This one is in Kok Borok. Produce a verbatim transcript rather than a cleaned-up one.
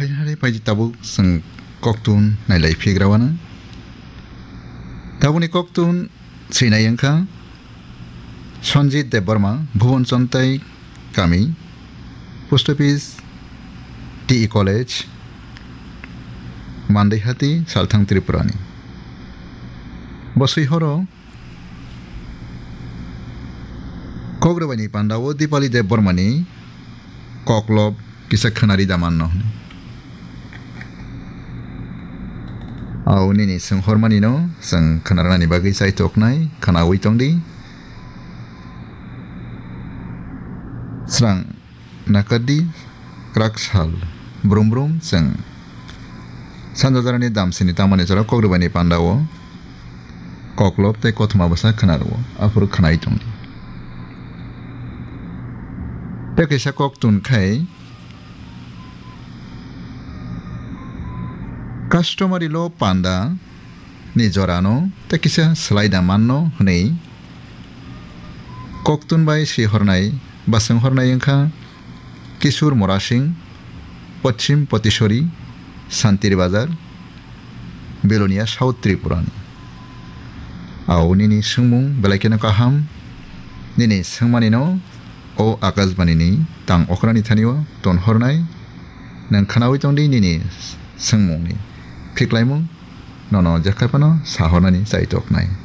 Hari paidi tabuk chwng koktun nailai phigra wana. Tabukni koktun swinai wngkha Sanjit Debbarma, Bhuban Chontai kami, Post Office, T E College, Mandaihati, Salthang Tripurani. Bo swi horo Kok rwbaini pandao Dipali Debbarmani koklop kisa khwnari da manno hwnwi. Au nini swnghormanino chwng khwnarnani bagwi chaitoknai, khwnaui tongdi. Srang nakardi, kwrak sal brum brum chwng sanja jorani damsini tangmani jora kok rwbaini pandao koklop tei kothoma bwsa khwnarwo, aphuru khwnai tongdi. Tei kaisa koktun khai customary law panda ni jorano tei kisa swlai da manno hwnwi koktun bai swi hornai ba swng hornai wngkha Kishore Mora Singh, Poschim Potisori, Santir Bazar, Belonia, South Tripurani. Au nini swngmung belai kheno kaham, nini swngmanino o Akashbanini tang okrani thanio ton hornai, nwng khwnaui tongdi nini swngmungni phiklaimung, nono jekhaphano sa hornani chaitoknai.